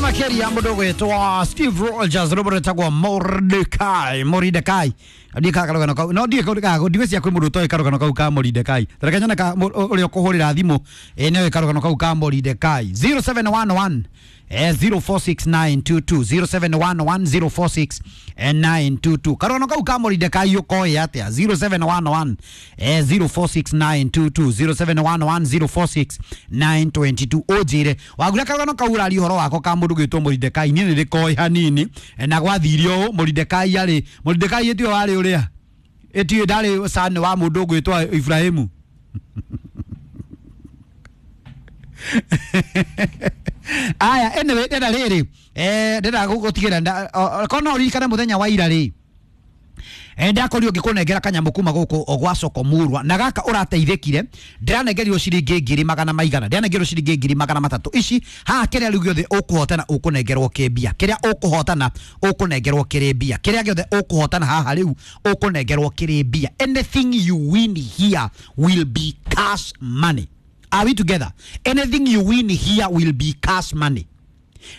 Makeria mundu gwitwo Steve Rogers rwimbo rwitagwo Mordecai. Mordecai ndiĩ karũgano kau no ndiĩ ndigwĩciria kwĩ mũndũ ũtoĩ karũgano kau ka Mordecai. Tareke nyone ka ũrĩa ũkũhũrĩra thimũ nĩoĩ karũgano kau ka Mordecai. 0711 046922 0711 046922 karũgano kau ka Mordecai ũkoĩ atĩa? 0711 046922 0711 046922 ũnjĩre wagura karũgano kau ũraria ũhoro wako ka mũndũ gwĩtwo Mordecai. Niĩ nĩ ndĩkoĩ hanini na gwathire ũũ Mordecai arĩ Mordecai ĩtiwe warĩ ũrĩa ĩtiwe ndarĩ cani wa mũndũ ũgwĩtwo Ibrahimu. Aya, anyway, ndĩrenda rĩrĩ ndĩrenda gũtigĩra korwo no ũririkane mũthenya wa ira rĩ, ndakorirwo ngĩkũnengera kanyamũ kuma gũkũ gwa soko murwa na gaka ũrateithĩkire. Ndĩranengerirwo ciringi ngiri magana maigana, ndĩranengerirwo ciringi ngiri magana matatũ. Ici haha kĩrĩa rĩu gĩothe ũkũhotana ũkũnengerwo kĩmbia, kĩrĩa ũkũhotana ũkũnengerwo kĩrĩ mbia, kĩrĩa gĩothe ũkũhotana haha rĩu ũkũnengerwo kĩrĩ mbia. Anything you win here will be cash money. Are we together? Anything you win here will be cash money.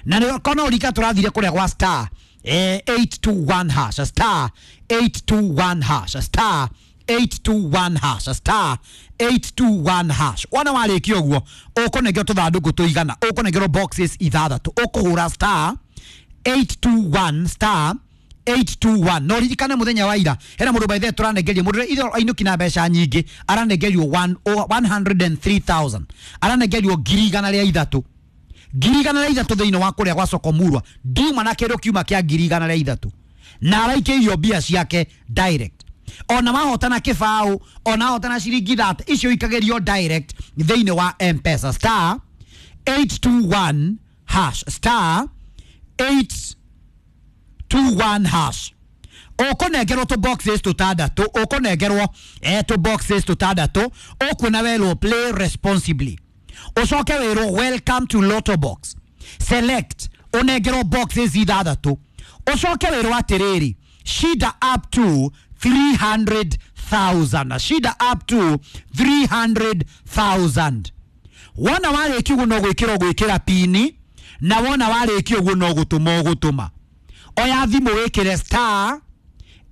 Na nĩ kono ũrika tũrathire kũrĩa gwa star 821 hash, star 821 hash, star 821 hash, star 821 hash. Wona warĩkia ũguo ũkũnengerwo tũthandũkũ tũigana, ũkũnengerwo boxes ithathatũ, ũkũhũra star 821 star 821. No ririkane muthenya wa ira hena mundu by the tũranengerio mundu ithe ainũki na mbeca nyingĩ, aranengerio 103,000, aranengerio ngiri igana rĩa ithatũ, ngiri igana rĩa ithatũ thĩinĩ wa kũrĩa gwa soko murwa. Ndiuma na kĩndũ kiuma kĩa ngiri igana rĩa ithatũ na araikĩirio mbia ciake direct. Ona mahotana kĩbaũ, ona mahotana ciringi thate, icio ikagĩrio direct thĩinĩ wa M-Pesa. Star 821 hash, star 821 hash. Ũkũnengerwo tũ boxes tũtandatũ, ũkũnengerwo tũ boxes tũtandatũ, ũkuona werwo play responsibly, ũcoke wĩrwo welcome to Lotto Box, select, ũnengerwo boxes ithathatũ, ũcoke wĩrwo atĩrĩrĩ, shida up to 300,000, shida up to 300,000. Wona warĩkia ũguo no gwĩkĩra ũgwĩkĩra pini, na wona warĩkia ũguo no gũtũma ũgũtũma. Oya thimũ wĩkĩre star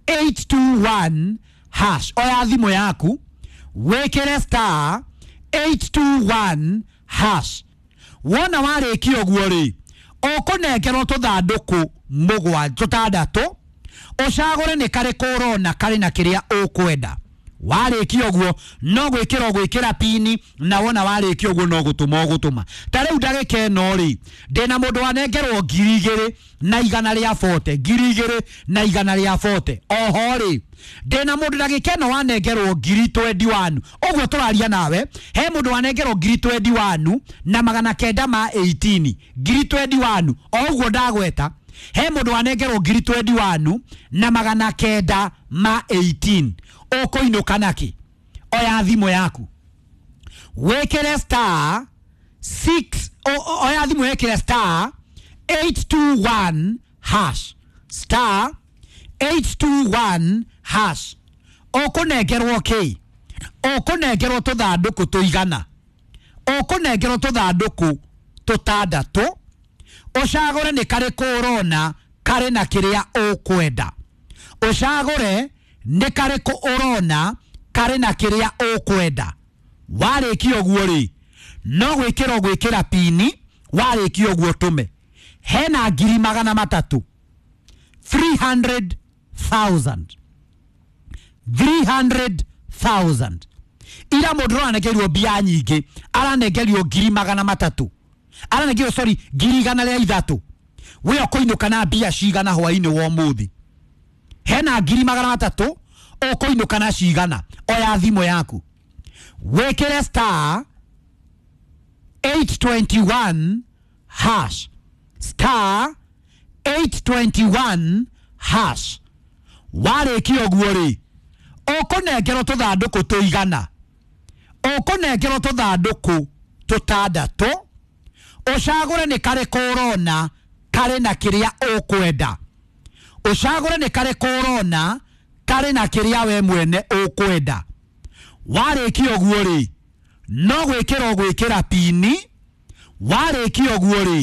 821 hash. Oya thimũ yaku wĩkĩre star 821 hash. Wona warĩkia ũguo rĩ, ũkũnengerwo tũthandũkũ mũgwanja tũtandatũ, ũcagũre nĩ karĩkũ ũrona karĩ na kĩrĩa ũkwenda. Warĩkia ũguo no gwĩkĩra ũgwĩkĩra pini, na wona warĩkia ũguo no gũtũma ũgũtũma. Ta rĩu ndagĩka ĩno rĩ, ndĩna mũndũ wanengerwo ngiri igĩrĩ na igana rĩa bote, ngiri igĩrĩ na igana rĩa bote. Oho rĩ, ndĩna mũndũ ndagĩka ĩno wanengerwo ngiri 21. Ũguo tũraria nawe, he mũndũ wanengerwo ngiri 21 na magana kenda ma 18, ngiri 21. O ũguo ndagweta, he mũndũ wanengerwo ngiri 21 na magana kenda ma 18. Ũkũinũka naki? Oya thimũ yaku wĩkĩre star 6, oya thimũ wĩkĩre star 821 hash, star 821 hash. Ũkũnengerwo kĩ? Ũkũnengerwo tũthandũkũ tũigana, ũkũnengerwo tũthandũkũ tũtandatũ, ũcagũre nĩ karĩkũ ũrona karĩ na kĩrĩa ũkwenda. Ũcagũre nĩ karĩkũ ũrona karĩ na kĩrĩa ũkwenda. Warĩkia ũguo rĩ, no gwĩkĩra ũgwĩkĩra pini, warĩkia ũguo tũme. Hena ngiri magana matatũ, 300,000, 300,000. Ira mũndũ ũranengerio mbia nyingĩ aranengerio ngiri magana matatũ, aranengerio sorry ngiri igana rĩa ithatũ. We ũkũinũka na mbia cigana hwainĩ wa ũmũthĩ? Hena ngiri magana matatũ, ũkũinũka na cigana? Oya thimũ yaku wĩkĩre star 821 hash, star 821 hash. Warĩkia ũguo rĩ, ũkũnengerwo tũthandũkũ tũigana, ũkũnengerwo tũthandũkũ tũtandatũ, ũcagũre nĩ karĩkũ ũrona karĩ na kĩrĩa ũkwenda. Ũcagũre nĩ karĩkũ ũrona karĩ na kĩrĩa we mwene ũkwenda. Warĩkia ũguo rĩ, no gwĩkĩra ũgwĩkĩra pini, warĩkia ũguo rĩ,